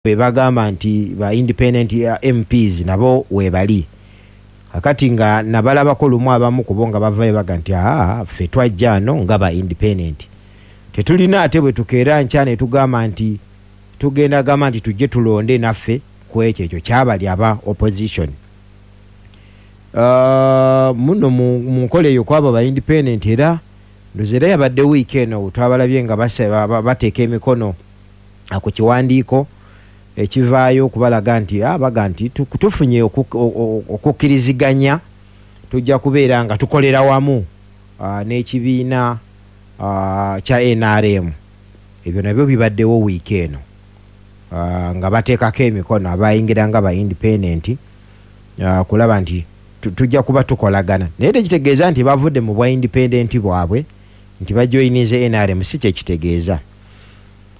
Be bagamba nti ba independent MPs nabo weebali. Kakati nga nabalabako lumu, abamu kubo nga bavayo baga nti, "Aa, ffe twajja no nga ba independent, tetulina." Ate bwe tukeera nkya ne tugamba nti tugenda gamba nti tujje tulonde naffe ku ekyo, ekyo kyabali aba opposition. Muno mu nkola eyo kwabo ba independent, era ndoza era yabadde wiiki eno twabalabye nga bateeka emikono ku kiwandiiko ekivaayo okubalaga nti baga nti tufunye okukkiriziganya, tujja kubeera nga tukolera wamu n'ekibiina kya NRM. Ebyo nabyo bibaddewo wiiki eno, nga bateekako emikono abayingira nga ba independent, kulaba nti tujja kuba tukolagana. Naye tekitegeeza nti bavudde mu bwa independent bwabwe nti bajoyinize NRM, si kyekitegeeza.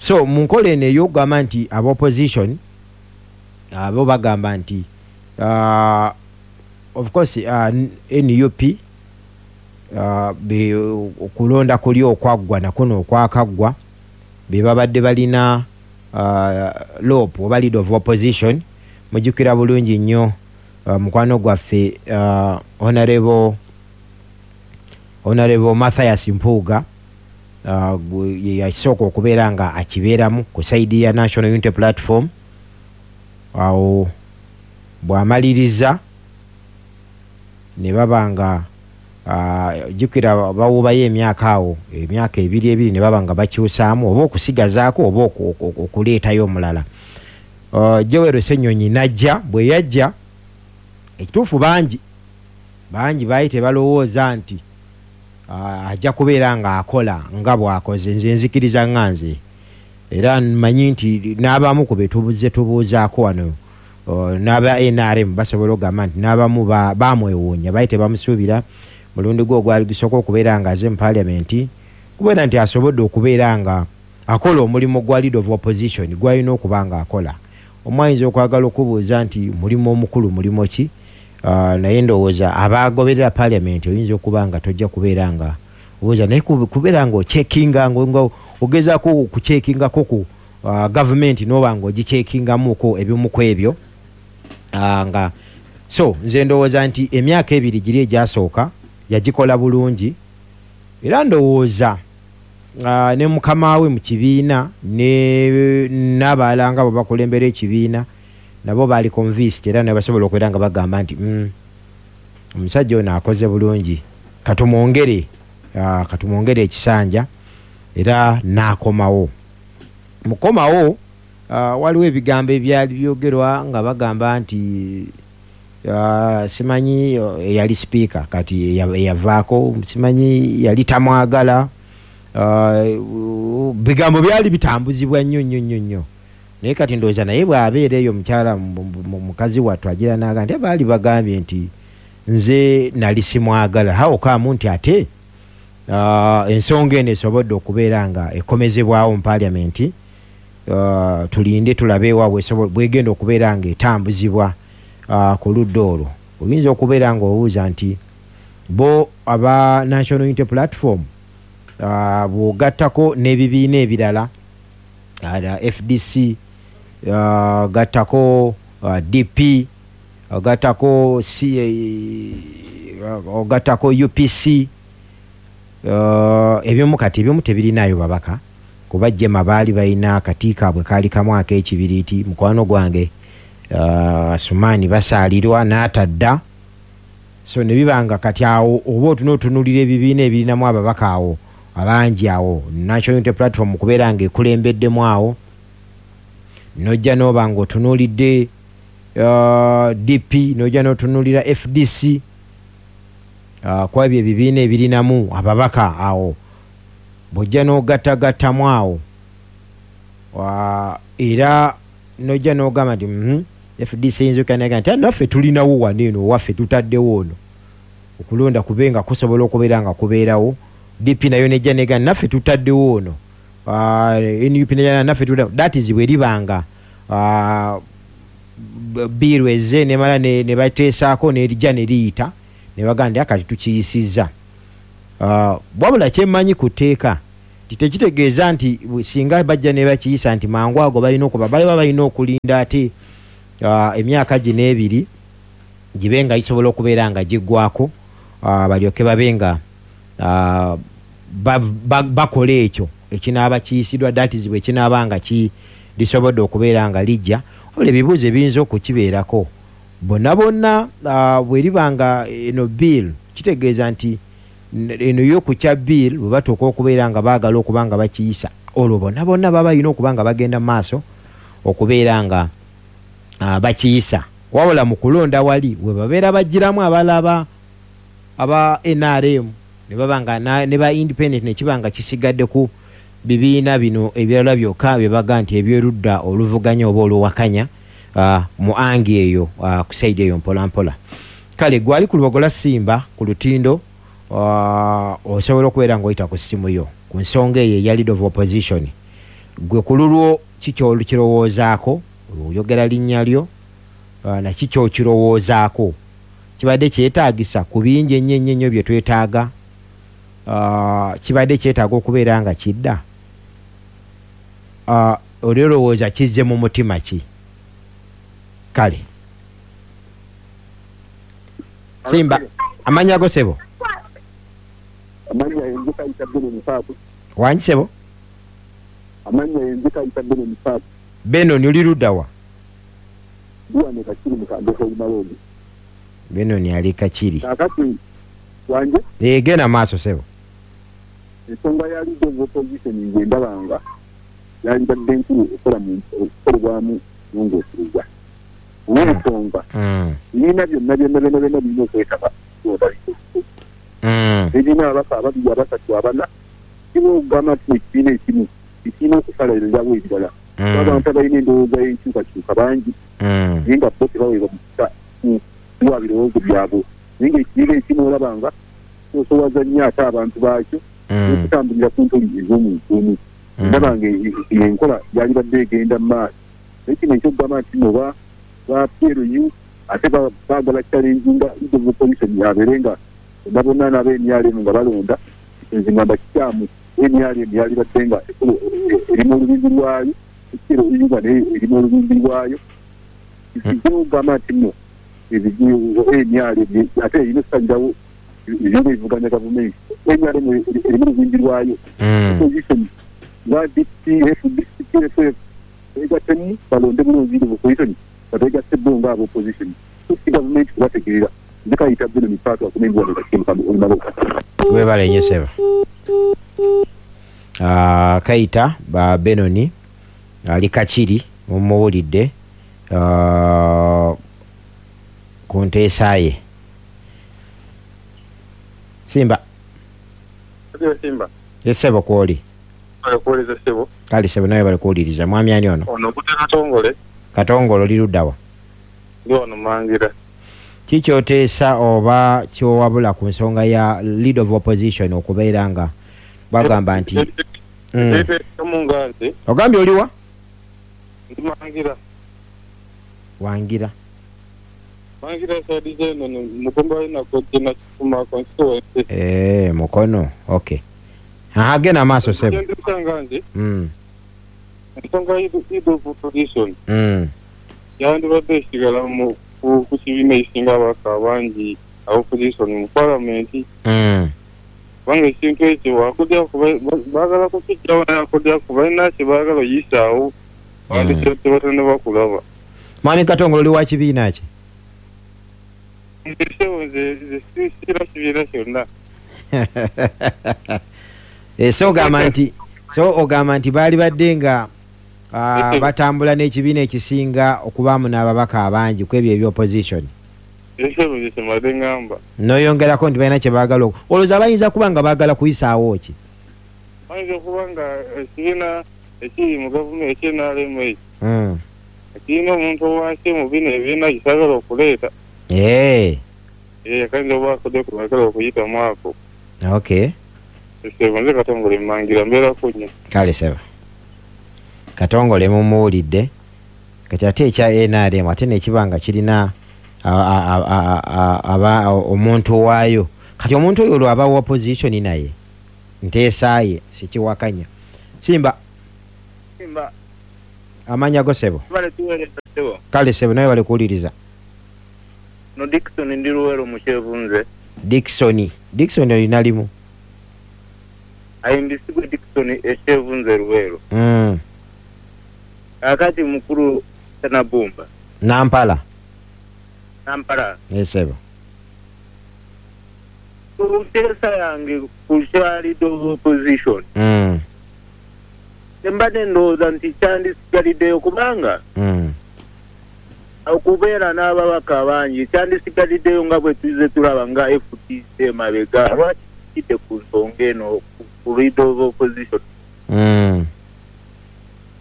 So mu nkola eno ey'okugamba nti aba opposition abo bagamba nti, of course, NUP, okulonda kuli okwaggwa nakuno okwakaggwa, be babadde balina LOP oba leader of opposition. Mujjukira bulungi nnyo, mukwano gwaffe, Honorable Mathias Mpuuga, ye yasooka okubeera nga akibeeramu ku side ya National Unity Platform. Awo bw'amaliriza ne baba nga, jjukira bawubayo emyaka awo, emyaka 2 2, ne baba nga bakyusaamu oba okusigazaako oba okuleetayo omulala. Joel Ssenyonyi najja. Bwe yajja, ekituufu bangi bangi baali tebalowooza nti ajja kubeera ng'akola nga bw'akoze. Nze nzikiriza nga nze era mmanyi nti n'abamu ku be tubuze tubuuzaako wano, n'aba NRM basobola okugamba nti n'abamu bamwewuunya, baali tebamusuubira mulundi gwe ogwali gusooka okubeera nga aze mu Paliamenti, kubeera nti asobodde okubeera nga akola omulimu gwa leader of opposition gwalina okuba nga akola. Omu ayinza okwagala okubuuza nti mulimu omukulu mulimu ki? Naye ndowooza abagoberera Paliamenti, oyinza okuba nga tojja kubeera nga obuuza, naye kubeera nga ochekinga, nga ogezaako okuchekingako ku gavumenti, noba nga ogichekingamuko ebimu ku ebyo. Nga so nze ndowooza nti emyaka 2 giri egyasooka yagikola bulungi, era ndowooza ne mukama we mu kibiina ne n'abalala nga bwe bakulembera ekibiina nabo baali convinced, era ne basobola okubeera nga bagamba nti, omusajja ono akoze bulungi, katumwongere ekisanja." Era n'akomawo. Mukomawo, waliwo ebigambo ebyali byogerwa nga bagamba nti, simanyi eyali sipiika kati eyavaako, simanyi yali tamwagala. Bigambo byali bitambuzibwa nnyo nnyo nnyo nnyo. Naye kati ndowooza naye bw'abeera eyo mukyala mukazi wattu agira naga nti baali bagambye nti nze nali simwagala. How come nti ate ensonga eno esobodde okubeera nga ekomezebwawo mu Paliamenti? Tulinde tulabe wa bwegenda okubeera nga etambuzibwa. Ku ludda olwo oyinza okubeera nga obuuza nti bo aba National Unity Platform, bw'ogattako n'ebibiina ebirala, FDC, gattako DP, ogattako ogattako UPC, ebimu kati ebimu tebirinayo babaka, kuba JEEMA baali balina akati kaabwe kaali kamu ak'ekibiriiti, mukwano gwange Sumaani Basaalirwa n'atadda. So ne bibanga kati awo oba otuna otunuulira ebibiina ebirinamu ababaka awo abangi, awo National Unity Platform kubeera nga ekulembeddemu, awo nojja n'oba nga otunuulidde DP, nojja n'otunuulira FDC, kuba ebyo ebibiina ebirinamu ababaka. Awo bw'ojja n'ogattagattamu awo, era nojja n'ogamba nti, FDC eyinza okanaga nti, "Naffe tulinawo wano eno owaffe, tutaddewo ono okulonda kube nga kusobola okubeera nga kubeerawo." DP nayo nejja nega, "Naffe tutaddewo ono." NUP nejja, "Naffe tutaddewo." That is bwe libanga bill ezze nemala ne bateesaako nerijja ne liyita ne bagamba nti, "Kati tukiyisizza." Wabula kyemmanyi ku tteeka Tekitegeeza nti singa bajja ne bakiyisa nti mangu ago balina okuba baliba balina okulinda ate emyaka gino ebiri gibe nga gisobola okubeera nga giggwako, balyoke babe nga bakola ekyo ekinaaba kiyisiddwa, that is bwe kinaaba nga lisobodde okubeera nga lijja. Wabula ebibuuzo ebiyinza okukibeerako bonna bonna, bwe liba nga eno bill, kitegeeza nti eno y'okukya bill bwe batuuka okubeera nga baagala okuba nga bakiyisa, olwo bonna bonna baba balina okuba nga bagenda mu maaso okubeera nga bakiyisa. Wabula mu kulonda wali we babeera bagiramu abalaba aba NRM ne baba nga ne ba independent, ne kiba nga kisigadde ku bibiina bino ebirala byokka bye baga nti ebyerudda oluvuganya oba oluwakanya mu angi eyo, ku side eyo mpola mpola. Kale gwali ku Lubogola Simba ku lutindo, osobola okubeera ng'oyita ku ssimu yo ku nsonga eyo eya leader of opposition. Gwe ku lulwo ki ky'olukirowoozaako? Oyogera linnya lyo, naki ky'okirowoozaako? Kibadde kyetaagisa ku bingi ennyo ennyo ennyo bye twetaaga? Kibadde kyetaaga okubeera nga kidda? Oli olowooza kizze mu mutima ki? Kale Simba, amannya go ssebo? Amannya yenze Kayita Benon Paatu. Wangi ssebo? Amannya yenze Kayita Benon Paatu. Benon, oli ludda wa? Ndi wano Kakiri mu Kandeke Olumalooni. Benon ali Kakiri. Kaakati wanje? Genda maaso ssebo. Ensonga ya leader of opposition nze ndaba nga yandibadde nkulu okukolebwamu nnongoosereza. Olw'ensonga ebibiina byonna byonna byonna byonna birina okwetaba kulonda leader of opposition. Ebirina ababaka ababiri, abasatu, abana, kiba okugamba nti ekibiina ekimu ekirina okusalirawo ebirala. Abantu abalina endowooza y'enkyukakyuka bangi, naye nga bo tebaweebwa mukisa kuwa birowoozo byabwe. Naye ng'ekibiina ekimu olaba nga kisosowaza nnyo ate abantu baakyo n'okutambulira ku ntoli ez'omuntu omu. Ndaba nga enkola yalibadde egenda mu maaso. Naye kino ekyokugamba nti nno ba PLU ate baagala challenginga leader of opposition abeere nga bonna bonna n'aba NRM nga balonda, nze ngamba kikyamu. NRM yalibadde nga erimu olubimbi lwayo, PLU nga naye erimu olubimbi lwayo. Kijja okugamba nti nno NRM ate erina okusalirawo ebibiina ebivuganya gavumenti. NRM erimu olubimbi lwayo. Opposition nga DP, FDC, PFF beegattemu balonde bulungi leader of opposition nga beegasse bo nga aba opposition. So si gavumenti kubategeera. Nze Kayita Benon Paatu akomye wano Kakiri mu Olumalooni. Webale nnyo ssebo. Kayita ba Benoni ali Kakiri, mumuwulidde ku nteesa ye. Simba. Simba. Ssebo kwoli. Kuwuliriza ssebo. Kale ssebo, nawe bali kuwuliriza. Mwami ani ono? Ono Gute Katongole. Katongole, oli ludda wa? Ndi wano Mangira. Ki ky'oteesa oba ky'owabula ku nsonga ya leader of opposition okubeera nga bagamba nti Eteekamu nga nze. Ogambye oliwa? Ndi Mangira. Wangira. Mangira side z'eno Mukomba Nakojje Nakifuma constituency. Mukono, okay. Aha, genda maaso ssebo. Kyenteesa nga nze ensonga leader of opposition yandibadde esigala ku kibiina ekisinga ababaka abangi opposition mu palamenti. Kubanga ekintu ekyo akudyaku baagala kukiggyawo, naye akudyaku balina kye baagala oyisaawo abantu tebatannaba kulaba. Mwami Katongole, oli wa kibiina ki? Nze ssebo, nze sira kibiina kyonna. So ogamba nti baali badde nga batambula n'ekibiina ekisinga okubaamu n'ababaka abangi ku ebyo ebyopposition. Ssebo, nze kyembadde ŋŋamba. N'oyongerako nti balina kye baagala. Olowooza bayinza kuba nga baagala kuyisaawo ki? Bayinza okuba nga ekibiina ekiri mu gavumenti ekye NRM ekyo kirina omuntu owansi mu bino ebibiina kikyagala okuleeta. Kayinza oba akudde ku baagala okuyitamu ako. Ssebo, nze Katongole Mangira, mbeerako nnyo. Kale ssebo Katongole, mumuwulidde. Kati ate ekya NRM ate nekiba nga kirina omuntu waayo, kati omuntu oyo olwo aba wa opposition naye. Nteesaaye sikiwakanya. Simba. Simba. Amanya go sebo. Kale sebo nawe bali kuwuliriza. No Dickson ndi Luwero mukyevunze. Dickson. Dickson olina limu. Ayimbisibwe Dickson ekyevunze Luwero. Akati mukulu Tanabumba. Nampala. Nampala. Esebo. Kuteesa yange ku kya leader of opposition. Mbadde ndowooza nti kyandisigaliddeyo kubanga okubeera n'ababaka bangi kyandisigaliddeyo nga bwe tuzze tulaba nga FDC emabega. Lwaki kidde ku nsonga eno ku leader of opposition?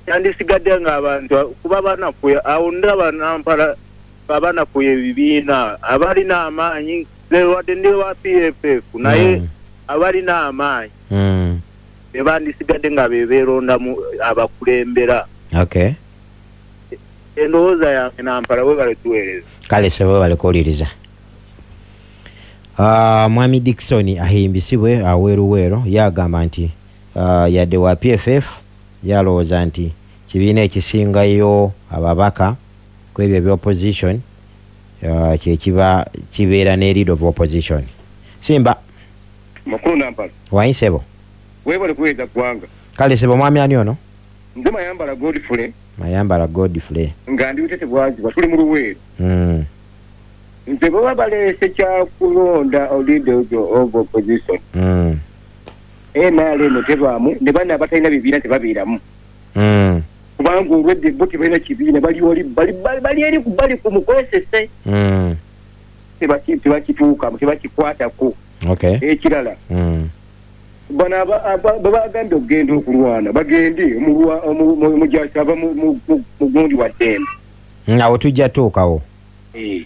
Kyandisigadde ng'abantu kuba banafuye awo ndaba Nampala abanafuye ebibiina abalina amaanyi wadde ndi wa PFF naye abalina amaanyi bebandisigadde nga bebeerondamu abakulembera. Okay. Endowooza yange Nampala bwe balituweereza. Kale sebo bali kuwuliriza. Mwami Dickson ahimbisibwe aweruweero yagamba nti yadde wa PFF yalowooza nti kibiina ekisingayo ababaka ku ebyo ebya opposition kyekiba kibeera ne leader of opposition. Simba. Makulu Nampala. Wayinsebo. Webale kuweereza ggwanga. Kale sebo mwami ani ono? Nze Mayambala Godfrey. Mayambala Godfrey. Nga ndi Butete Bwazibwa tuli mu Luweero. Nze bwe baleese kyakulonda leader of opposition. NRM tebaamu ne banna abatalina bibiina tebabeeramu. Kubanga olwedde bo tebalina kibiina bali oli bali eri bali ku mukwesese. Tebakituukamu tebakikwatako. Okay. Ekirala. Bano babagambye okugenda okulwana bagende omujasi ava mu gundi wa ddembe. Awo tujja tuukawo.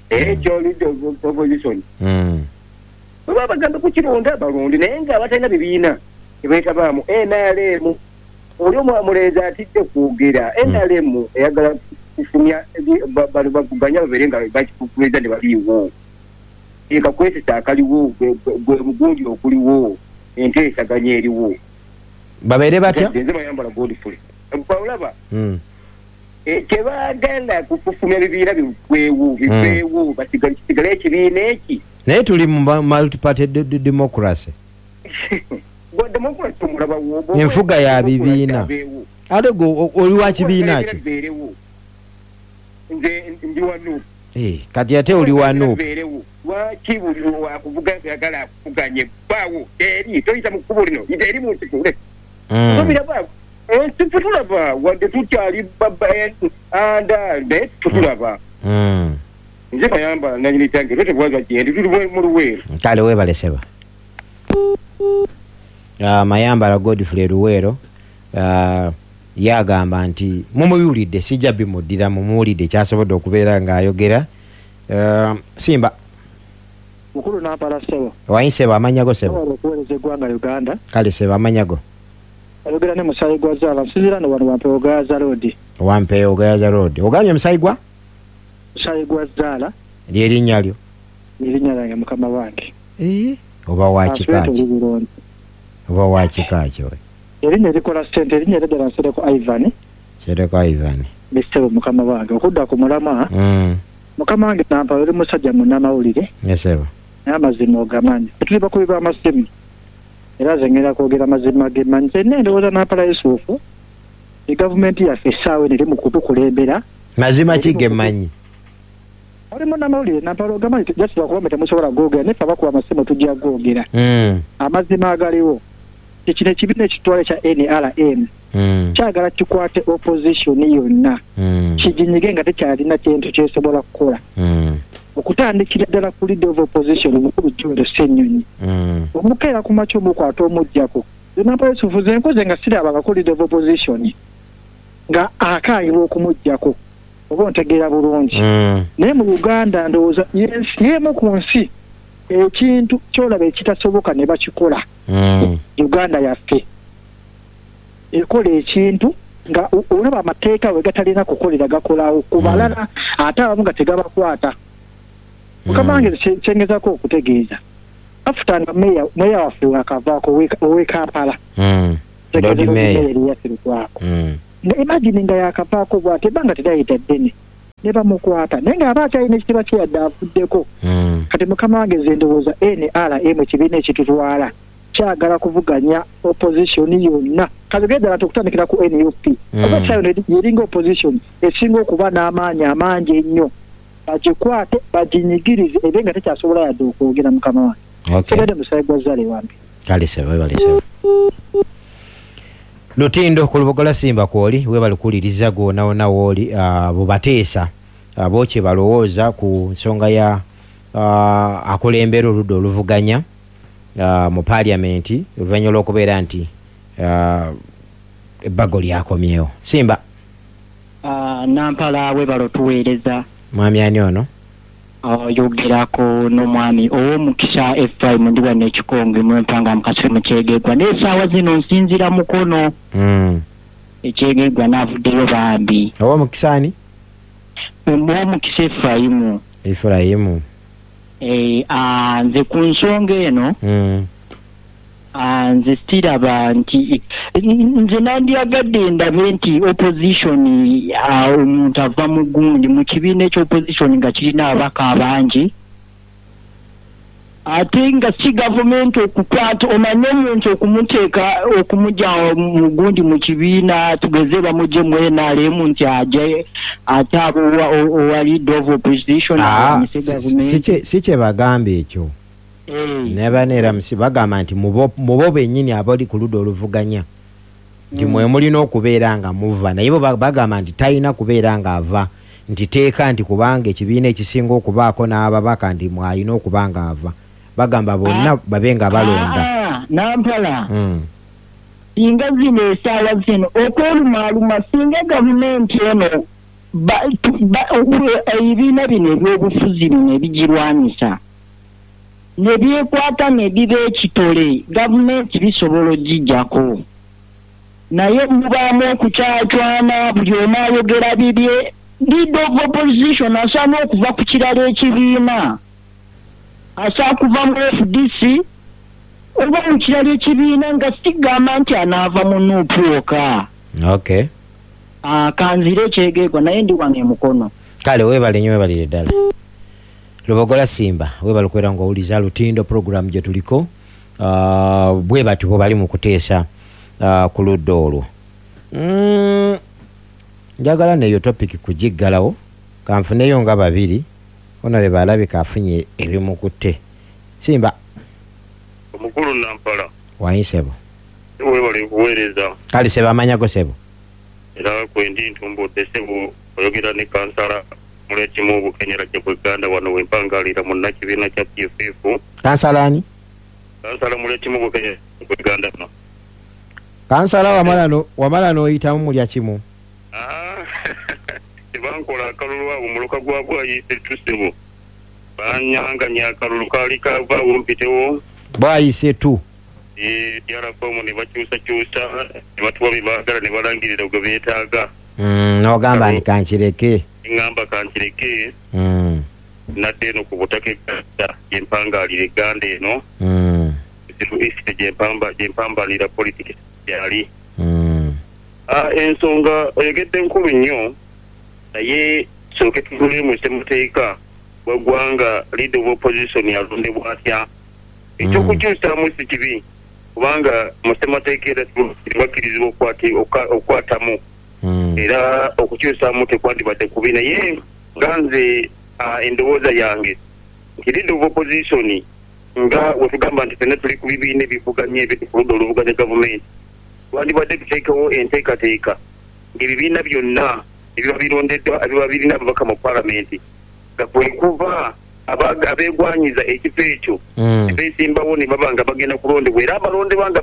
Ekyo leader of opposition. Baba bagamba kukironda balonde naye nga abatalina bibiina tebeetabaamu. NRM oli omulenzi atidde kwogera. NRM eyagala kufumya bano bavuganya babeere nga bakikukuleza ne baliiwo. Ekakwesesa akaliwo gwe mugundi okuliwo enteesaganya eriwo. Babeere batya? Nze Mayambala Godfrey. Olaba tebaagala kufumya bibiina bigwewo bigwewo kisigale ekibiina eki. Naye tuli mu multi-party democracy. Enfuga ya bibiina. Ate gwe oli wa kibiina ki? Nze ndi wa NUP. Kati ate oli wa NUP. Lwaki buli wakuvuga ayagala akuvuganye bbaawo eri toyita mu kkubo lino yita eri mu nsiko. Tobiraba ffe tulaba wadde tukyali anda naye tutulaba. Nze Mayambala nanyini kyange Butete Bwazibwa gyendi tuli mu Luweero. Kale weebale seba. Mayambala Godfrey Luweero yagamba nti mumubiwulidde sijja bimuddira mumuwulidde kyasobodde okubeera ng'ayogera. Simba. Mukulu Nampala sebo. Wayinsebo amanya go sebo. Okuweereza eggwanga Uganda. Kale sebo amanya go. Ayogera ne Musaayi gwa Zaala nsinziira no wano Wampeewo Gayaza Road. Wampeewo Gayaza Road. Ogambye Musaayi gwa? Musaayi gwa Zaala. Ly'erinnya lyo? Erinnya lyange mukama wange. Oba wa kika ki? Oba wa kika ki oyo? Erinnya erikola ssente erinnya ery'eddala Nsereko Ivan. Nsereko Ivan. Ssebo mukama wange okudda ku mulamwa. Mukama wange Nampala oli musajja munnamawulire. Ssebo. Naye amazima ogamanyi. Tuli bakubi b'amasimu. Era nze ngenda kwogera mazima gemmanyi. Nze ndowooza Nampala Yusufu gavumenti yaffe essaawa eno eri mu kutukulembera. Mazima ki gemmanyi? Oli munnamawulire Nampala ogamanyi just lwakuba temusobola googera naye ffe abakuba amasimu tujja googera. Amazima agaliwo kino ekibiina ekitwale ekya NRM kyagala kikwate opposition yonna kiginyige nga tekyalina kintu kyesobola kukola. Okutandikira ddala ku leader of opposition mukulu Joel Ssenyonyi. Omukeera ku makya omukwata omuggyako. Nampala Yusufu nze nkoze nga sirabangako leader of opposition nga akaayibwa okumuggyako oba ontegeera bulungi. Naye mu Uganda ndowooza y'emu ku nsi ekintu kyolaba ekitasoboka ne bakikola. Uganda yaffe ekola ekintu nga olaba amateeka we gatalina kukolera gakolawo ku balala ate abamu nga tegabakwata. Mukama wange kyengezaako okutegeeza After nga meya waffe wakavaako ow'e Kampala. Lord Mayor. Imagine nga yakavaako bw'ati ebbanga teriyita ddene ne bamukwata, naye ng'aba akyalina ekitiibwa kye yadde avuddeko. Kati mukama wange nze ndowooza NRM ekibiina ekitutwala kyagala kuvuganya opposition yonna. Kati ddala okutandikira ku NUP, oba kyayo yeringa opposition esinga okuba n'amaanyi amangi ennyo, bagikwate baginyigirize ebe nga tekyasobola yadde okwogera. Mukama wange, kibadde musayi gwa Zale wambi. Kale sebo, webale sebo. Lutindo ku Lubogola Simba kwoli, webale kuwuliriza gwonawona wooli. Bubateesa bo kye balowooza ku nsonga ya akulembera oludda oluvuganya mu paliamenti oluvannyuma lw'okubeera nti ebbago lyakomyewo. Simba. Nampala, webale otuweereza. Mwami ani ono? Oyogerako n'omwami Ow'omukisa Efraim, ndi wano Ekikonge mwempanga mukase mukyegegwa, naye essaawa zino nsinzira Mukono. Ekyegegwa naavuddeyo bambi. Ow'omukisa ani? Ow'omukisa Efraimu. Efraimu. Nze ku nsonga eno, nze siraba nti nze nandyagadde ndabe nti opposition, omuntu ava mu gundi mu kibiina eky'opposition nga kirina ababaka abangi, ate nga si gavumenti okukwata omanye omuntu okumuteeka okumugya mu gundi mu kibiina, tugeze bamugye mu NRM nti aje ate abo owa leader of opposition alwanyise gavumenti. Si kye bagamba ekyo. Ne baneera musi bagamba nti mubo bennyini abali ku ludda oluvuganya nti mwe mulina okubeera nga muva, naye bo bagamba nti talina kubeera nga ava, nti teeka nti kubanga ekibiina ekisinga okubaako n'ababaka nti mwalina okuba nga ava. Bagamba bonna babe nga balonda. Nampala, singa zino essaawa zino okwerumaaluma, singa gavumenti eno ebibiina bino ebyobufuzi bino ebigirwanyisa ne byekwata ne biba ekitole, gavumenti bisobola ogijjako, naye mubaamu okukyacwana, buli omu ayogera bibye. Leader of opposition asaana okuva ku kirala ekibiina, asaana kuva mu FDC oba mu kirala ekibiina, nga sigamba nti anaava mu NUP wokka. Kanzire ekyegeegwa, naye ndi wano emukono. Kale weebale nnyo, weebalire ddala. Lubogola Simba, weebale okubeera ng'owuliza Lutindo program gye tuliko. Bwe batyo bwe bali mu kuteesa ku ludda olwo. Njagala neyo topic kugiggalawo, kanfuneyo nga babiri. Honorable alabika afunye ebimukutte. Simba. Omukulu Nampala. Wayisebo. Webale kuweereza. Kale sebo, amanya go sebo? Era kwendi ntumbudde sebo, oyogera ne kansala Mulekimu Bukenyera Gyebweganda wano wempangalira munnakibiina kya PFF. Kansala ani? Kansala Mulekimu Bukenyera Gyebweganda no. Kansala wamala n'oyitamu mulya kimu. Tebankola akalulu abo muluka gwa Bwayise tusebo. Banyanganya akalulu kaali kavaawo mpitewo. Bwayise tu. DR form ne bakyusakyusa ne batuwa bye baagala ne balangirira gwe beetaaga. N'ogamba nti kankireke. Ŋŋamba kankireke. Nadda eno ku butaka Egganda gye mpangalira Egganda eno. Ziru East gye mpambanira politics gyali. Ensonga oyogedde nkulu nnyo, naye tusooke tunule mu ssemateeka w'eggwanga, leader of opposition alondebwa atya? Eky'okukyusaamu si kibi kubanga mu ssemateeka era bakkirizibwa okukwatamu, era okukyusaamu tekwandibadde kubi, naye nga nze endowooza yange nti leader of opposition nga wetugamba nti ffenna tuli ku bibiina ebivuganya ebiri ku ludda oluvuganya gavumenti, twandibadde tuteekewo enteekateeka ng'ebibiina byonna ebiba birondeddwa ebiba birina ababaka mu palamenti nga kwe kuva abeegwanyiza ekifo ekyo beesimbawo ne baba nga bagenda kulondebwa, era abalondebwa nga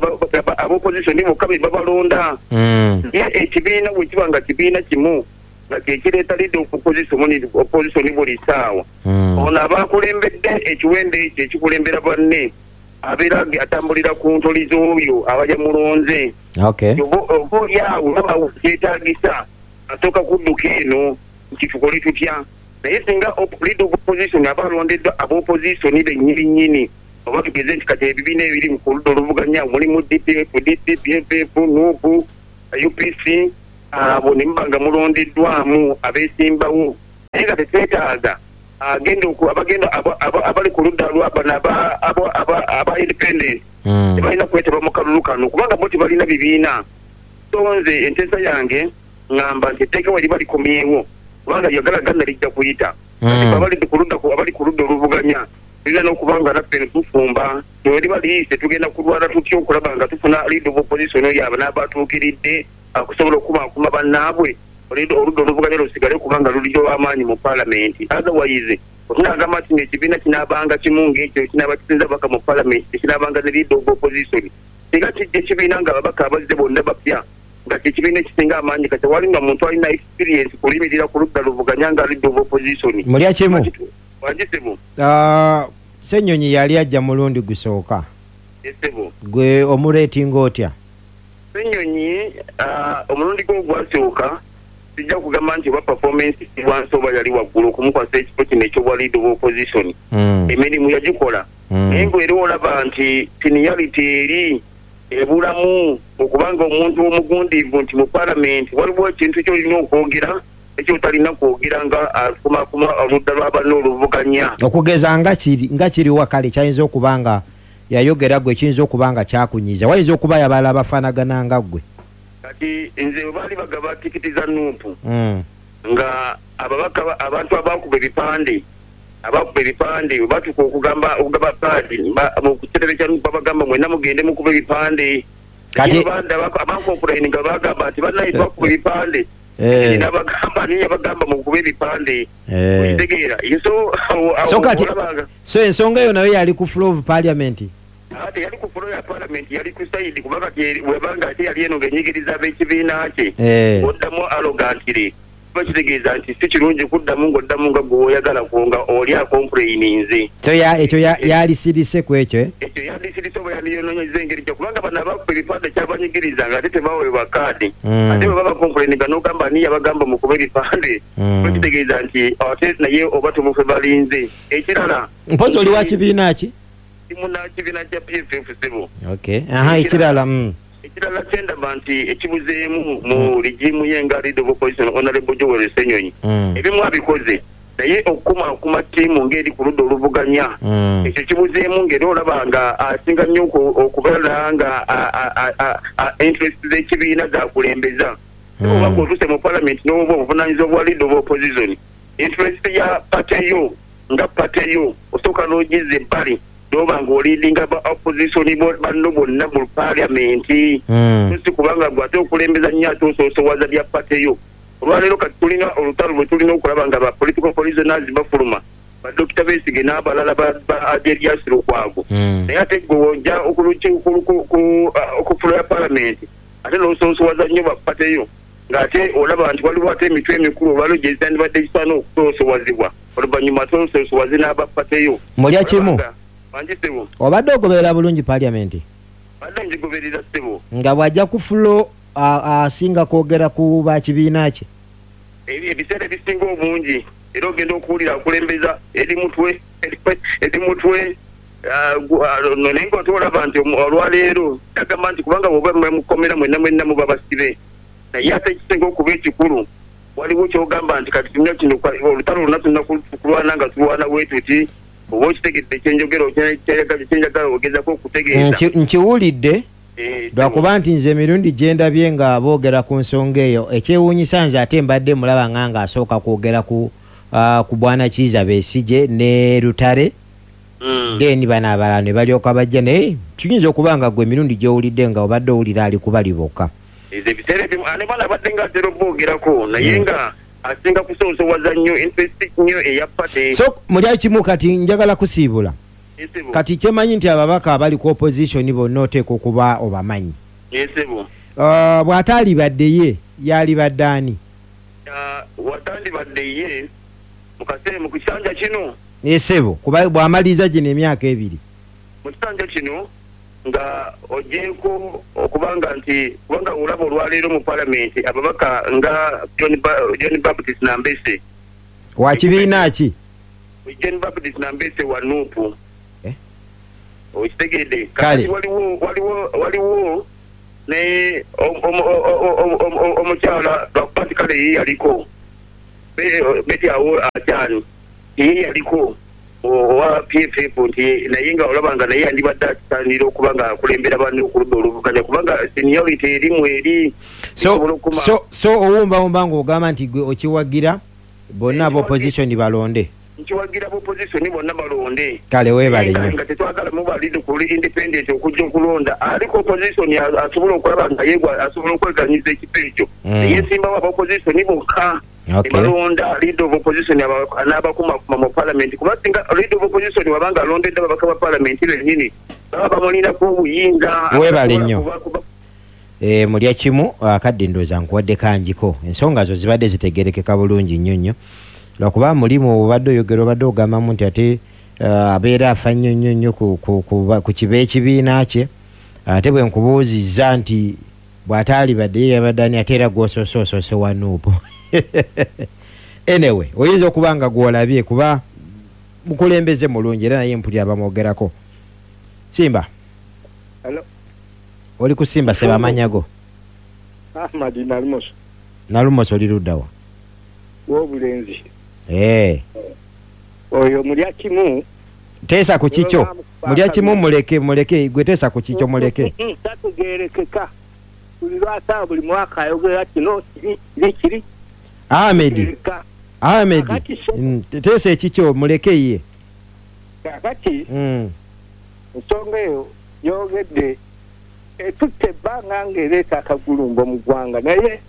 ab'opozisoni bokka be babalonda. Naye ekibiina bwe kiba nga kibiina kimu nga kye kireeta leader of opposition buli ssaawa, ono aba akulembedde ekiwendo ekyo ekikulembera banne abeera atambulira ku ntoli z'oyo aba yamulonze. Oba oli awo baba kyetaagisa asooka kudduka eno nti tukole tutya. Naye singa leader of opposition aba alondeddwa ab'opozisoni bennyini nnyini, Oba tugeze nti kati ebibiina ebiri ku ludda oluvuganya mulimu DP, FDC, PFF, NUP, UPC, abo ne muba nga mulondeddwamu abeesimbawo, naye nga tetwetaaga agenda abagenda abali ku ludda lwa bano aba independent. Tebalina kwetaba mu kalulu kano kubanga bo tebalina bibiina. So nze enteesa yange ŋŋamba nti etteeka we liba likomyewo, kubanga lyagala ganna lijja kuyita. Kati abali ku ludda oluvuganya tulina n'okuba nga naffe ne tufumba we liba liyise, tugenda kulwana tutya okulaba nga tufuna leader of opposition oyo aba n'abatuukiridde akusobola okukumaakuma bannaabwe, oludda oluvuganya lusigale kubanga luliyo amaanyi mu paalamenti. Otherwise otunagamba nti ekibiina kinaabanga kimu ng'ekyo kinaaba kisinza ababaka mu paalamenti, tekinaabanga ne leader of opposition. Singa kijja ekibiina nga ababaka abazze bonna bapya, nga kyekibiina ekisinga amaanyi, kati tewali nga muntu alina experience kulimirira ku ludda luvuganya nga leader of opposition. Mulya kimu. Wangisebo. Ssenyonyi yali ajja mulundi gusooka. Esebo. Gwe omureetinga otya? Ssenyonyi, omulundi gwe ogwasooka sijja kugamba nti oba performance si wansi oba yali waggulu okumukwasa ekifo kino eky'obwa leader of opposition. Emirimu yagikola. Naye ng'era olaba nti seniority eri ebulamu okubanga omuntu omugundiivu nti mu paalamenti waliwo ekintu ky'olina okwogera ekyotalina kwogera nga akumaakuma oludda lwa banne oluvuganya. Okugeza nga kiriwa kale kyayinza okuba nga yayogera gwe kiyinza okuba nga kyakunyiiza, wayinza okuba yabala abafaanagana nga ggwe. Kati nze bwe baali bagaba tikiti za NUP nga ababaka abantu abakuba ebipande bwe batuuka okugaba kaadi mu kitebe kya NUP babagamba mwenna mugende mukuba ebipande. Kati abakompulaini nga bagamba nti bannaye twakuba ebipande. Nabagamba niye yabagamba mukuba ebipande. Okitegeera? So kati so ensonga eyo nayo yali ku floor of parliament. Ate yali ku floor ya parliament, yali ku side, kubanga webanga ate yali eno ng'enyigiriza ab'ekibiina kye. Oddamu arrogantly. Kiba kitegeeza nti si kirungi kuddamu ng'oddamu nga gwe oyagala nga oli acomplaininze. So ekyo yalisirise ku ekyo? Ekyo yalisirise oba yandiyonoonyezza engeri kyo, kubanga bano abakuba ebipande kyabanyigiriza nga ate tebaweebwa kaadi. Ate bwe baba complaininga n'ogamba ani yabagamba mukuba ebipande, kiba kitegeeza nti ate naye oba tumufe balinze. Ekirala, Mpozi oli wa kibiina ki? Muna kibiina kya PFF ssebo. Okay. Aha, ekirala. Ekirala kyendaba nti ekibuzeemu mu regime ye nga leader of opposition Honorable Joel Ssenyonyi, ebimu abikoze, naye okukumaakuma ttiimu ng'eri ku ludda oluvuganya, ekyo kibuzeemu ng'era olaba nga asinga nnyo okubeera nga interest z'ekibiina zakulembeza. Oba ng'otuuse mu parliament n'oba obuvunaanyizibwa bwa leader of opposition, interest ya party yo nga party yo osooka n'ogizza ebbali n'oba ng'oliidinga ba opposition banno bonna mu parliament. Si kubanga gwe ate okulembeza nnyo ate osoosowaza bya party yo. Olwaleero kati tulina olutalo lwe tulina okulaba nga ba political prisoners bafuluma, ba Dr. Besigye n'abalala ba Erias Lukwago. Naye ate gwe w'ojja ku floor ya parliament ate n'osoosowaza nnyo ba party yo, ng'ate olaba nti waliwo ate emitwe emikulu olwaleero gye zitandibadde gisaana okusoosowazibwa, oluvannyuma ate osoosowaze n'aba party yo. Mulya kimu. Wangisebo. Obadde ogoberera bulungi parliament? Badde ngigoberera ssebo. Nga bw'ajja ku floor asinga kwogera ku ba kibiina kye? Ebiseera ebisinga obungi era ogenda okuwulira akulembeza eri mutwe naye ng'ate olaba nti olwaleero agamba nti kubanga bw'oba mukomera mwenna mwenna muba basibe. Naye ate ekisinga okuba ekikulu waliwo ky'ogamba nti kati tulina kino olutalo lwonna tulina kulwana nga tulwana bwe tuti, oba okitegedde ekyenjogera kyenjagala ogezaako okutegeeza. Nkiwulidde lwakuba nti nze emirundi gye ndabye nga boogera ku nsonga eyo, ekyewuunyisa nze ate mbadde mulaba nga asooka kwogera ku Bwana Kiiza Besigye ne Lutale, then bano abalala ne balyoka bajja, naye kiyinza okuba nga gwe emirundi gy'owulidde nga obadde owulira ali kubali bokka. Ebiseera ebimu ane bano abadde nga atera oboogerako, naye nga asinga kusoosowaza nnyo interest nnyo eya party. So mulya kimu kati njagala kusiibula. Kati kyemanyi nti ababaka abali ku opposition bonna oteekwa okuba obamanyi. Esebo. Bw'ataalibadde ye yalibadde ani? Watandibadde ye mu kaseera mu kisanja kino. Esebo, kuba bw'amaliriza gino emyaka 2. Mu kisanja kino nga ogyeko okubanga nti kubanga olaba olwaleero mu parliament ababaka nga John Baptist Nambese. Wa kibiina ki? John Baptist Nambese wa NUP. Okitegedde? Kakati waliwo ne omukyala lwakuba nti kale ye yaliko Betty awo akyali, ye yaliko owa PFF, nti naye nga olaba nga naye yandibadde akisaanira okuba nga akulembera banne okuludda oluvuganya, kubanga seniority erimu eri. So owumbawumba ng'ogamba nti gwe okiwagira bonna ab'opposition balonde. Nkiwagira opposition bonna balonde. Kale, weebale nnyo. Nga tetwagala mubalidi kuli independent okujja okulonda, aliko opposition asobola okulaba nga yegwa asobola okweganyiza ekifo ekyo, yesimbawo aba opposition bokka, balonda leader of opposition n'abakumakuma mu parliament, kuba singa leader of opposition wabanga alondedde ababaka ba parliament bennyini, baba bamulinako obuyinza. Weebale nnyo. Mulya kimu akadde, ndowooza nkuwadde kanjiko, ensonga zo zibadde zitegerekeka bulungi nnyo nnyo, lwakuba mulimu obadde oyogera, obadde ogambamu nti ate abeera afa nnyo nnyo nnyo ku kiba ekibiina kye, ate bwe nkubuuzizza nti bw'ataalibadde ye yabadde ani, ate era gw'osoose osoose wa NUP. Anyway, oyinza okuba nga gw'olabye kuba mukulembeze mulungi, era naye mpulira bamwogerako. Simba. Hello. Oli ku Simba, seba, amannya go? Ahmad Nalumoso. Nalumoso, oli luddawa? W'obulenzi. Oyo mulya kimu. Teesa ku kikyo, mulya kimu, muleke, muleke, gwe teesa ku kikyo, muleke. Tategeerekeka, buli lwasaba, buli mwaka ayogera kino, kiri kiri kiri. Ahmed, Ahmed, teesa ekikyo, muleke ye. Kakati ensonga eyo yogedde etutte ebbanga ng'ereeta akagulumbo mu ggwanga, naye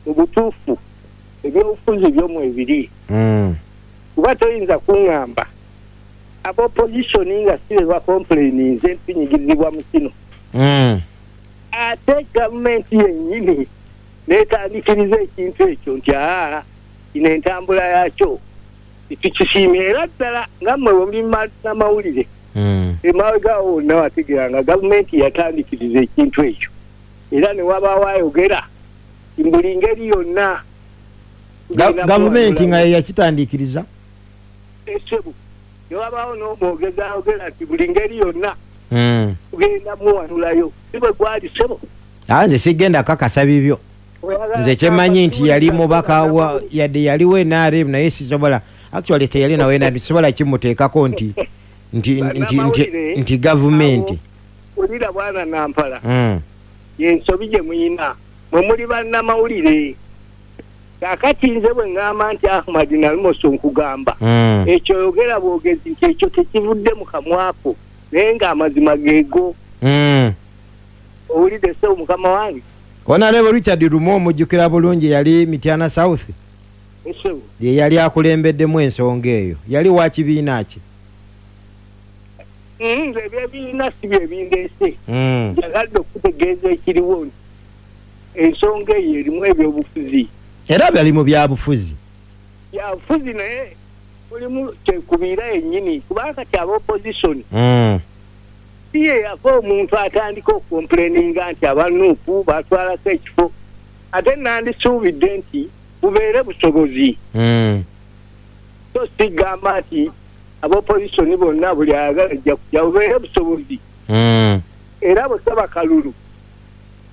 mu butuufu ebyobufuzi byomu ebiri, kuba toyinza kuŋŋamba aba opposition nga si be bacomplaininze ntunyigizibwa mu kino, ate gavumenti yennyini n'etandikiriza ekintu ekyo nti aa, kino entambula yakyo tukisiimye. Era ddala nga mmwe bwe muli n'amawulire, emabega wonna wategeera nga gavumenti yatandikiriza ekintu ekyo, era ne wabaawo ayogera buli ngeri yonna. Gavumenti nga yeyakitandikiriza? Esebu, ne wabaawo n'omwogezi ayogera nti buli ngeri yonna tugenda muwanulayo. Si bwe gwali, sebo? Nze sigenda kakasa bibyo. Nze kyemmanyi nti yali mubaka wa, yadde yaliwo NRM, naye sisobola, actually teyali nawe NRM, sisobola kimuteekako nti gavumenti. Olira bwana Nampala, yensobi gye muyina mwe muli bannamawulire. Kakati nze bwe ŋŋamba nti Ahmad Nalumoso, nkugamba ekyo oyogera bwogezi nti ekyo tekivudde mu kamwako, naye ng'amazima geego. Owulidde, ssebo mukama wange? Honorable Richard Lumu omujjukira bulungi, yali Mityana South, ye yali akulembeddemu ensonga eyo. Yali wa kibiina ki? Nze ebyebiina si byebindeese. Njagadde okutegeeza ekiriwo nti ensonga eyo erimu ebyobufuzi. Era byali mu byabufuzi. Byabufuzi, naye mulimu kyekubiira yennyini, kubanga kati aba opposition si ye yava omuntu atandika okucomplaininga nti aba NUP batwalako ekifo, ate nandisuubidde nti bubeere busobozi, so sigamba nti aba opposition bonna buli ayagala ajja kujja. Bubeere busobozi, era bwe kaba kalulu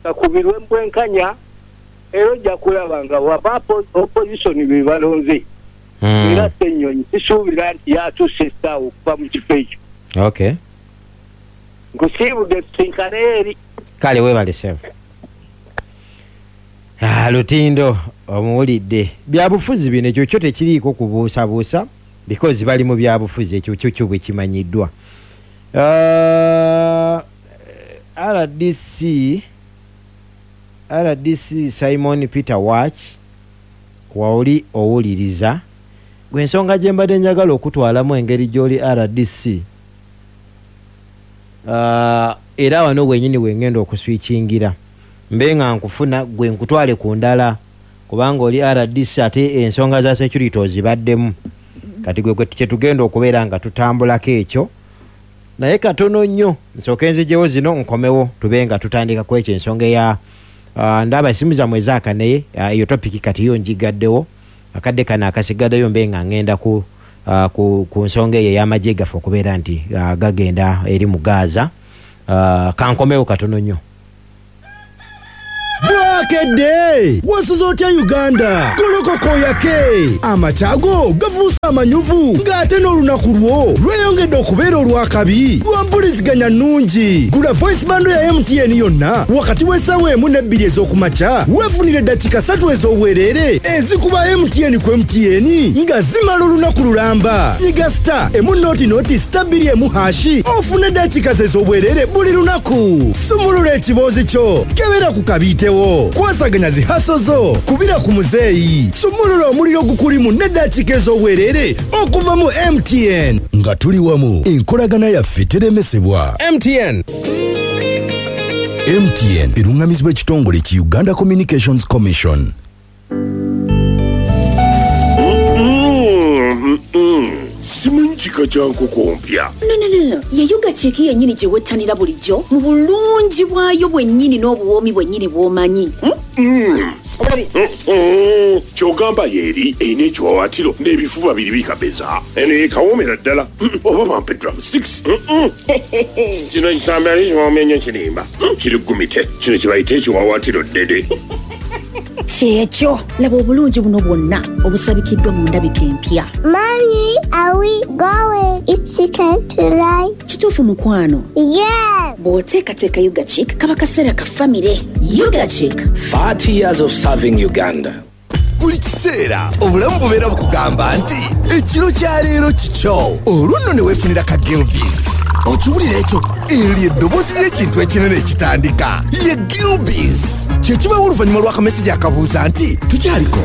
kakubirwe mu bwenkanya, era ojja kulaba nga waba opposition be balonze. Era Ssennyonyi sisuubira nti yatuuse essaawa okuva mu kifo ekyo. Nkusiibudde, tusinkaneyo eri. Kale, weebale ssebo. Lutindo omuwulidde, byabufuzi bino, ekyo kyo tekiriiko kubuusabuusa because bali mu byabufuzi, ekyo kyo kyo bwe kimanyiddwa. RDC Simon Peter Watch, waoli owuliriza gwe, ensonga gye mbadde njagala okutwalamu engeri gy'oli RDC, era wano wenyini wengenda okuswikingira mbe nga nkufuna gwe nkutwale ku ndala, kubanga oli RDC ate ensonga za security ozibaddemu. Kati gwe kyetugenda okubeera nga tutambulako ekyo, naye katono nnyo nsooke nzijewo zino, nkomewo tube nga tutandika ku ekyo, ensonga eya ndaba esimu zammwe ezaaka, naye eyo topic kati yo njigaddewo. Akadde kano akasigaddeyo mbe nga ngenda ku Ku nsonga eyo ey'amagye gaffe okubeera nti gagenda eri mu Gaza. Kankomewo katono nnyo. Bwakedde! Wasuze otya Uganda? Golokoka oyake! Amakya go gafuuse amanyuvu ng'ate n'olunaku lwo lweyongedde okubeera olw'akabi lwa mpuliziganya nnungi. Gula voice bundle ya MTN yonna wakati w'essaawa 1 ne 2 ez'okumakya weefunire eddakiika 3 ez'obwereere ezikuba MTN ku MTN nga zimala olunaku lulamba. Nyiga star emu noti noti star 2 emu hashi ofune eddakiika ez'obwereere buli lunaku. Sumulula ekiboozi kyo, kebera ku kabiitewo, kwasaganya zihaso zo, kubira ku muzeeyi, sumulula omuliro gukulimu n'eddakiika ez'obwereere okuva mu MTN. Nga tuli wamu, enkolagana yaffe teremesebwa. MTN. MTN erungamizibwa ekitongole ki Uganda Communications Commission. Simanyi kika kya nkoko mpya. No, no, no, no. Ye Ugachick yennyini gye wettanira bulijjo mu bulungi bwayo bwennyini n'obuwoomi bwennyini bw'omanyi. Ky'ogamba yeeri erina ekiwawaatiro n'ebifuba biri bikabeza. Eno yekawoomera ddala. Oba bampe drumsticks. Kino kisambi ali kiwoomya nnyo kirimba. Kiri gumite. Kino kye bayita ekiwawaatiro ddede. Kyekyo, laba obulungi buno bwonna obusabikiddwa mu ndabika empya. Mommy, are we going eat chicken tonight? Kituufu mukwano. Yeah. Bw'oteekateeka Ugachick kaba kaseera ka famire. Ugachick. 30 years of serving Uganda. Buli kiseera obulamu bubeera bukugamba nti ekiro kya leero kikyo, olwo nno ne weefunira ka Gilbis. Okiwulira ekyo? Eryo eddoboozi ly'ekintu ekinene ekitandika ye Gilbis. Kye kibaawo oluvannyuma lw'akamesegi akabuuza nti tukyaliko.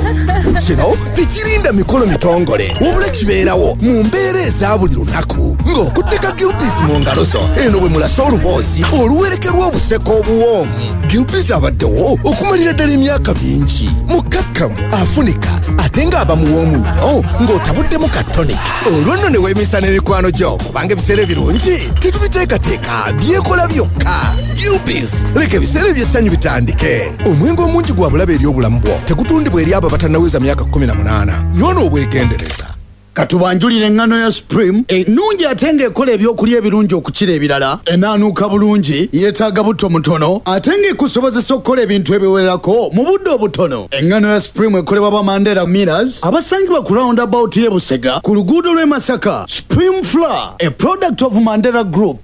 Kino tekirinda mikolo mitongole, wabula kibeerawo mu mbeera eza buli lunaku ng'okutteka Gilbis mu ngalo zo eno bwe mulasa oluboozi oluwerekerwa obuseko obuwoomu. Gilbis abaddewo okumalira ddala emyaka mingi, mukkakkamu, afunika ate ng'aba muwoomu nnyo ng'otabuddemu ka tonic. Olwo nno ne weemisa n'emikwano gyo kubanga ebiseera ebirungi tetubiteekateeka, byekola byokka. Gilbis, leka ebiseera eby'essanyu bitandike. Omwenge omungi gwa bulabe eri obulamu bwo, tegutundibwa eri abo abatannaweza myaka 18. Nywa n'obwegendereza. Katubanjulire engano ya Supreme ennungi ate ng'ekola ebyokulya ebirungi okukira ebirala, enaanuuka bulungi, yeetaaga butto mutono ate ng'ekusobozesa okukola ebintu ebiwererako mu budde obutono. Engano ya Supreme ekolebwa ba Mandela Millers abasangibwa ku roundabout y'e Busega ku luguudo lw'e Masaka. Supreme Flour, a product of Mandela Group.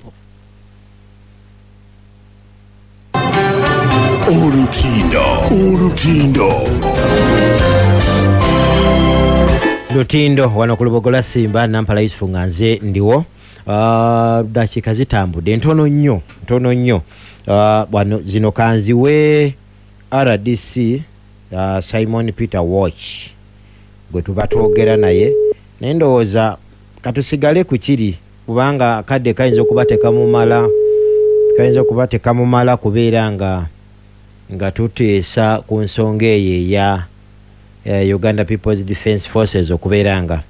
Olutindo, olutindo. Lutindo wano ku Lubogola Simba, Nampala Yusufu nga nze ndiwo. Dakiika zitambudde ntono nnyo, ntono nnyo. Wano zino kanziwe RDC Simon Peter Watch gwe tuba twogera naye, naye ndowooza katusigale ku kiri kubanga akadde kayinza okuba tekamumala, kayinza okuba tekamumala kubeera nga tuteesa ku nsonga eyo eya Uganda People's Defence Forces okubeera nga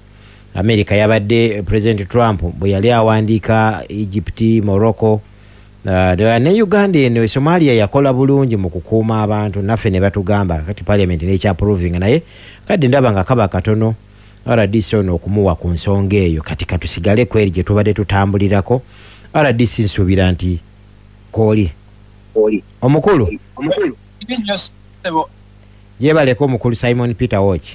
America yabadde President Trump bwe yali awandiika Egypt, Morocco ne Uganda eno Somalia yakola bulungi mu kukuuma abantu naffe ne batugamba kati parliament n'ekyaprovinga, naye kadde ndaba nga kaba katono RDC ono okumuwa ku nsonga eyo. Kati katusigale kweri gye tubadde tutambulirako. RDC nsuubira nti kooli omukulu yebaleko omukulu Simon Peter Watch.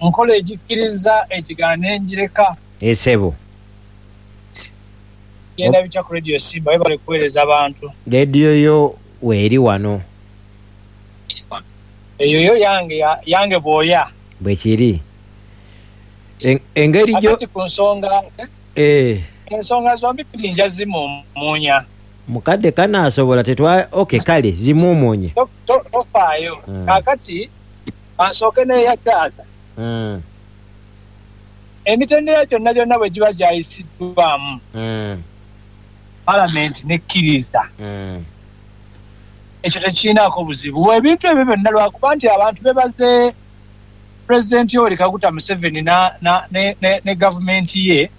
Nkola egikkiriza ekigaana n'enjireka. Esebo genda bitya ku Radio Simba, webale kuweereza abantu. Radio yo weeri wano eyo yo yange bw'oya bwe kiri. Engeri gyo ku nsonga ensonga zombi nja zimumuunya mukadde kanaasobola tetwa okay kale zimuumuunye tofaayo. Kaakati kansooke n'eyakyaza emitendera gyonna gyonna bwe giba gyayisiddwamu palamenti nekkiriza, ekyo tekirinaako buzibu. Ebintu ebyo byonna lwakuba nti abantu bebaze Pulezidenti Yoweri Kaguta Museveni ne gavumenti ye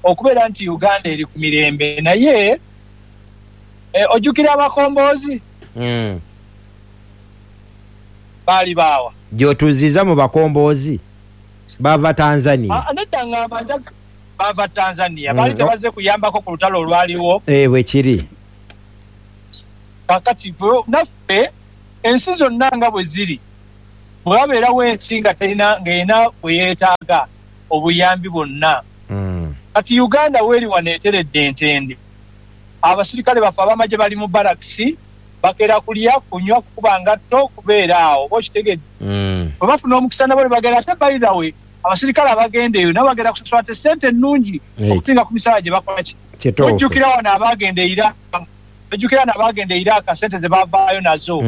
okubeera nti Uganda eri ku mirembe. Naye ojjukira abakomboozi baali baawa gy'otuziza mu bakomboozi Bava Tanzania. Ah, nedda, ngamba bava Tanzania. Baali tebazze kuyambako ku lutalo olwaliwo. Eh, bwe kiri. Kakati naffe ensi zonna nga bwe ziri, bwe wabeerawo ensi nga terina, ng'erina bwe yeetaaga obuyambi bwonna. Kati Uganda weeri wano eteredde entende. Abasirikale baffe ab'amagye bali mu barakisi, bakeera kulya, kunywa, kukuba ngatto, kubeera awo, oba okitegedde? Bwe bafuna omukisa nabo ne bagenda. Ate by the way, abasirikale abagenda eyo nabo bagenda kusasula ate sente ennungi okusinga ku misaala gye bakola ki. Ojjukira wano abagenda e Iraq, ojjukira wano abagenda e Iraq, sente ze bavaayo nazo.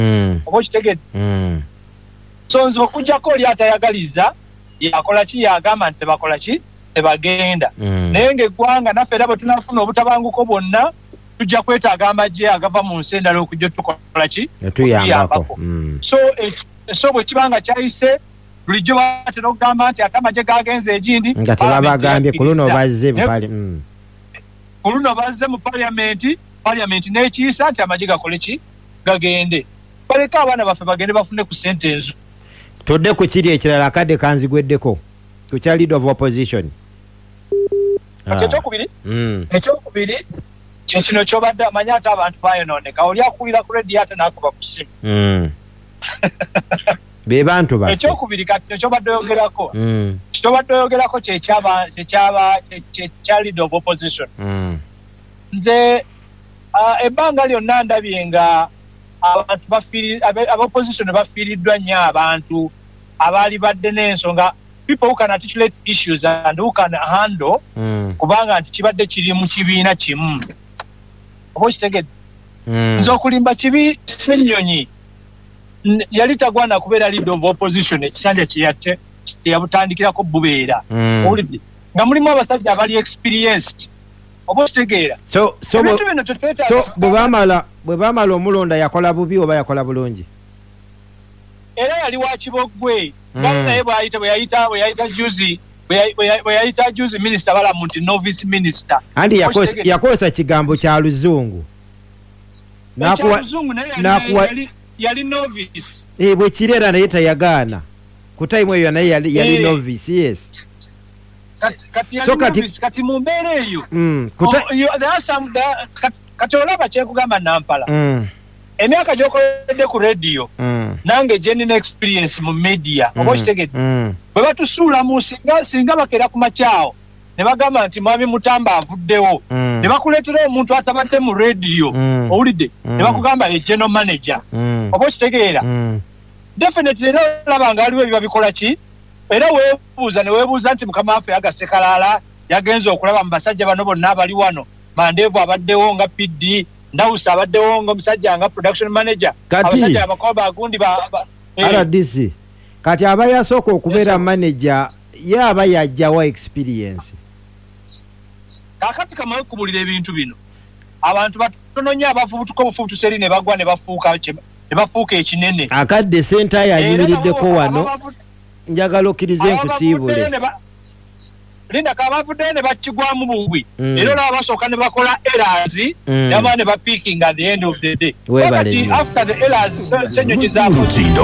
Oba okitegedde? So nze okuggyako oli atayagaliza, yakola ki, yagamba nti tebakola ki, tebagenda. Naye ng'eggwanga naffe era bwe tunafuna obutabanguko bwonna, tujja kwetaaga amagye agava mu nsi endala okujja tukola ki? Otuyambako. So bwe kiba nga kyayise, bulijjo batera okugamba nti ate amagye gagenze egindi nga tebabagambye, ku luno bazze mu Ku luno bazze mu parliament, parliament n'ekiyisa nti amagye gakole ki? Gagende. Baleke abaana baffe bagende bafune ku sente enzu. Tudde ku kiri ekirala, akadde kanzigweddeko, ku kya leader of opposition. Kati ekyokubiri kyekino kyobadde amanyi, ate abantu bayonooneka, oli akuwulira ku rediyo ate n'akuba ku ssimu. Be bantu baffe. Ekyokubiri kati kyobadde oyogerako, kyobadde oyogerako kyekya leader of opposition. Nze ebbanga lyonna ndabye nga abantu aba opposition bafiiriddwa nnyo abantu abaali badde n'ensonga, people who can articulate issues and who can handle, kubanga nti kibadde kiri mu kibiina kimu, oba okitegedde? Nze okulimba kibi, Ssenyonyi yali tagwana kubeera leader of opposition ekisanja kyeyabutandikirako bubeera. Owulidde nga mulimu abasajja abali experienced, oba okitegeera? So Ebintu bino tetwetaaga. So bwe bamala omulonda, yakola bubi oba yakola bulungi? Era yali wa kiboggwe. Naye bwayita bwe yayita juzi bwe yayita juzi minisita Balamu nti novice minister. Anti yakozesa kigambo kya luzungu. Ekyaluzungu, naye yali novice. Eh, bwe kiri, era naye tayagaana ku time eyo, naye yali novice, yes. Kati yali novice. Kati mu mbeera eyo, kati olaba kyenkugamba, Nampala, emyaka gyokoledde ku rediyo, nange gyenina experience mu media, oba okitegedde? Bwe batusuulamu, singa bakeera ku makyawo ne bagamba nti Mwami Mutamba avuddewo, ne bakuleetera omuntu atabadde mu rediyo, owulidde? Ne bakugamba e general manager, oba okitegeera? Definitely era olaba nga waliwo ebiba bikola ki, era weebuuza ne weebuuza nti mukama waffe Yagasekalaala yagenze okulaba mu basajja bano bonna abali wano, Mandeevu abaddewo nga PD, Ndawusi abaddewo nga omusajja nga production manager, abasajja abakoba bagundi ba. RDC, kati aba yasooka okubeera manager, ye aba yajjawa experience? Kaakati kamawe kubulira ebintu bino, abantu batono nnyo abafubutuka obufubutusi eri ne bagwa ne bafuuka ekinene. Akadde sentayo ayimiriddeko wano, njagala okkirize nkusiibule. Linda, kabavuddeyo ne bakigwamu bugwi. Era olaba basooka ne bakola errors, ne bamala ne bapiikinga at the end of the day. Weebale Kati nnyo. after the errors Ssenyonyi zakoze. Lutindo.